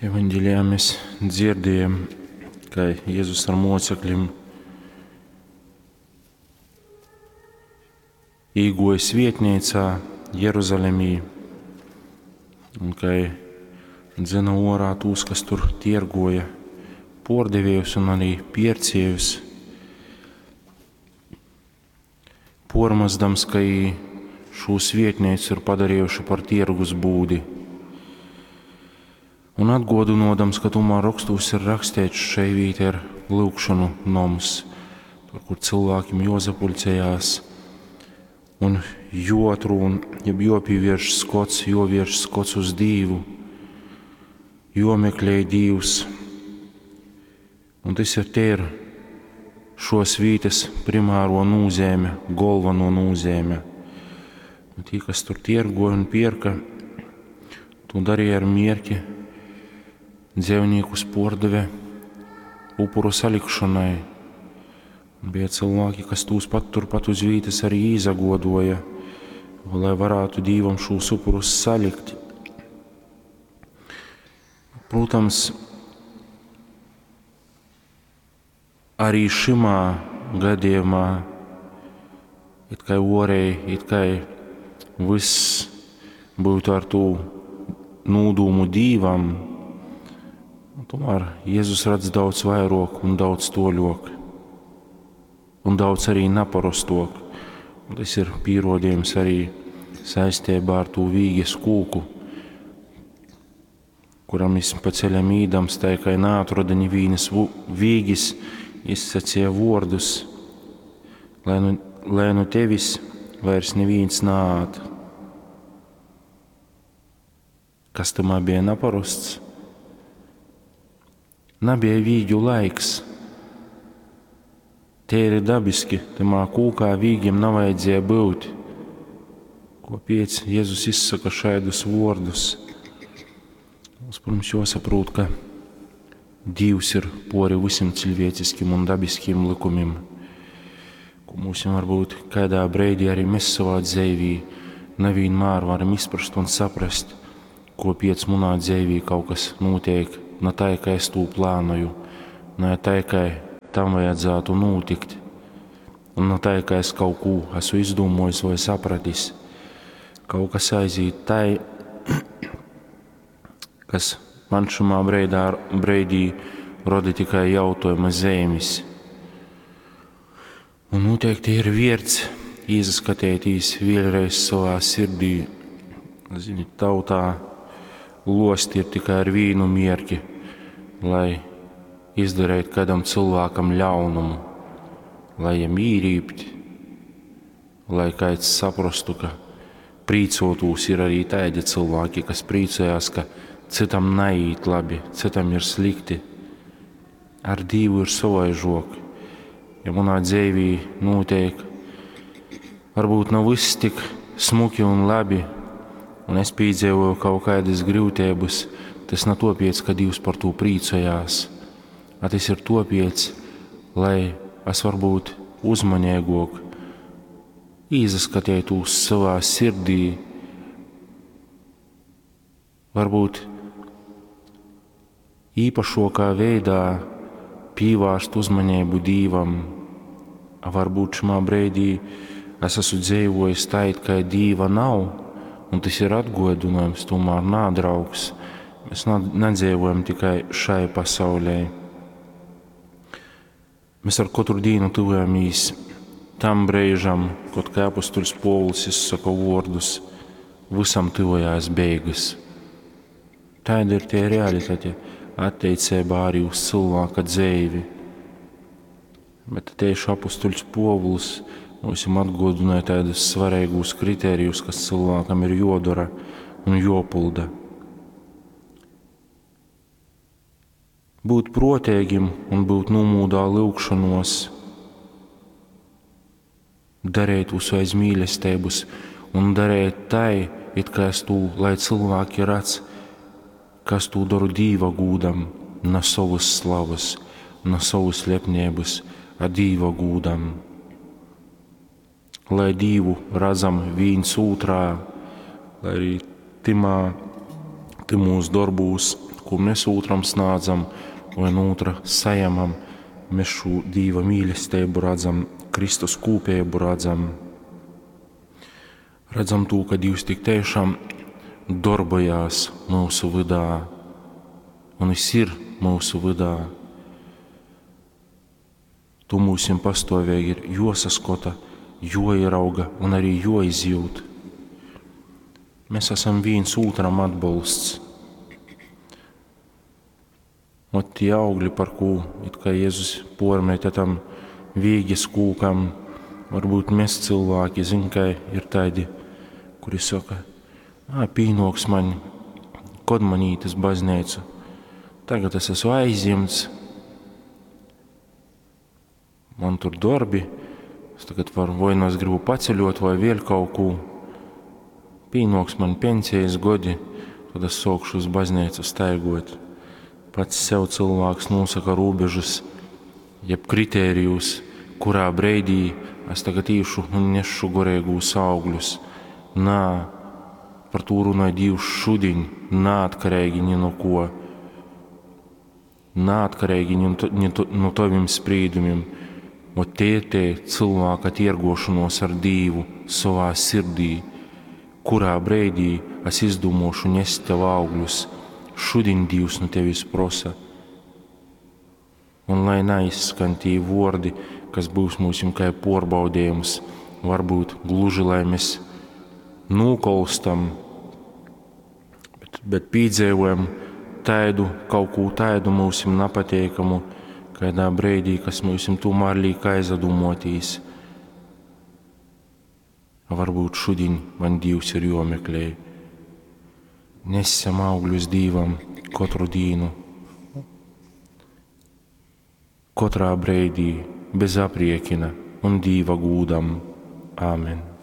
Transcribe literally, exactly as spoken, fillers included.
Evaņgelijā mēs dzirdējam, ka Jēzus ar mocekļiem īgoja svietnīcā Jeruzalemī un kai dzena orā tūs, kas tur tiergoja pordeviejus un arī pierciejus, pormazdams, ka i šū svietnīcu ir padarījuši par tiergus būdi. Un atgodinodams, ka tomēr rakstos ir rakstīts, šai vīta ir lūgšanu noms, tur, kur cilvēkiem jozapuļcējās un joatrūn, jeb jopīvērš skots, jovērš skots uz Dīvu, jomeklē Dīvs. Un tas ir te ir šos vītas primāro nūzēme, galveno nūzēme. Un tī, kas tur tiergoja un pierka, to darīja ar mierki dzīvniekus pordeve upuru salikšanai. Un bija cilvēki, kas tūs pat turpat uz vītas arī izagodoja, lai varētu Dīvam šūs upurus salikt. Protams, arī šimā gadījumā, it kā orēji, it kā viss būtu ar tū nūdūmu Dīvam, tomēr Jēzus redz daudz vairāk un daudz toļok, un daudz arī naparostok. Un tas ir pierodījums arī saistībā ar tū vīges kūku, kuram es pa ceļam īdams, tā kā naatrada nevīnas vīgis, izsacīja vārdus, lai nu, lai nu tevis vairs neviens nāāt. Kas tamā bija naparosts? Nabija vīģu laiks. Te ir dabiski, tamā kūkā vīgiem navajadzēja būt. Kopiec Jēzus izsaka šādus vārdus? Mums, protams, jāsaprot, ka Dievs ir pori visiem cilvēciskiem un dabiskiem likumiem, ko mums varbūt kādā brīdī arī mēs savā dzīvī nevienmēr varam izprast un saprast, ko piec munā dzīvī kaut kas notiek, ne tā, kā es to plānoju, ne tā, kā tam vajadzētu notikt, un ne tā, kā es kaut ko esmu izdomājis vai sapratis. Kaut kas aiziet tai, kas man šumā breidā, breidī roda tikai jautājuma zīmes. Un noteikti ir vērts iesaskatīties vēlreiz savā sirdī. Zini, tautā losti ir tikai ar vīnu mierki, lai izdarītu kādam cilvēkam ļaunumu, lai jam īrīpt, lai kāds saprastu, ka prīcotūs ir arī tādi cilvēki, kas prīcojās, ka citam naiet labi, citam ir slikti. Ar Dievu ir savaižok. Ja manā dzīvī notiek, varbūt nav viss tik smuki un labi, un es piedzīvoju kaut kādas grūtības, tas nav topiec, ka Dievs par to prīcojās. A tas ir topiec, lai es varbūt uzmanīgāk izaskatītos savā sirdī, varbūt īpašākā veidā pievērst uzmanību Dievam. A varbūt šimā brīdī es esmu dzīvojis tā, it kā Dieva nav, un tas ir atgodinājums, tomēr nā, draugs. Mēs nedzīvojam tikai šai pasaulē. Mēs ar katru dienu tuvojamies tam brīžam, kad kā apustuļs Pōvuls izsaka vārdus, visam tuvojās beigas. Tāda ir tie realitāte attiecībā arī uz cilvēka dzīvi. Bet tieši apustuļs Pōvuls mums atgādināja tādus svarīgus kritērijus, kas cilvēkam ir jodara un jopulda. Būt protēgim un būt nomūdā lūgšanos, darīt visu aiz mīlestības un darīt tai, it kā es tū, lai cilvēki redz, kas tū daru Dīva gūdam, na savas slavas, na savas lepnības, a Dīva gūdam. Lai Dīvu redzam viens otrā, lai arī timā, Tymūs dorbūs, ko mēs ūtram snādzam vai no ūtra sajamam, mēs šo Dīva mīlestību redzam, Kristus kūpību redzam. Redzam to, ka Dievs tik tiešām darbojās mūsu vydā, un Viņš ir mūsu vydā. Tu mūsim pastāvīgi ir josaskota, joierauga un arī joizjūt. Mēs esam viens otram atbalsts. Ot tie augļi, par ko it kā Jēzus pormeta tam vīģes kūkam, varbūt mēs cilvēki, zin, ka ir tādi, kuri saka, ā, pīnoks man, kod man īt uz baznīcu. Tagad es esmu aizņemts, man tur darbi, es tagad varu, vai nu es gribu paceļot, vai vēl kaut ko. Pīnoks man pensijas godi, tad es sākšu uz baznīcu staigot. Pats sev cilvēks nosaka robežas, jeb kritērijus, kurā breidī es tagad īšu un nešu gorīgūs augļus. Nā, par to runāja Dievs šodien, neatkarīgi ni no ko. Neatkarīgi ni, ni no taviem sprīdumiem. Ot tie ir tie cilvēka tirgošanos ar Dievu savā sirdī, kurā breidī es izdomāšu nest tev augļus. Šodien Dievs no tevis prosa. Un lai neizskan tie vordi, kas būs mums kā porbaudījums, varbūt gluži, lai mēs nūkolstam, bet, bet pīdzējojam taidu, kaut ko taidu mūsim napateikamu, kādā breidī, kas mūsim tomēr liek aizdomotīs. Varbūt šodien man Dievs ir jomeklē. Nesam augļus Dievam katru dienu, katrā breidī, bez apriekina un Dieva gūdam. Āmen.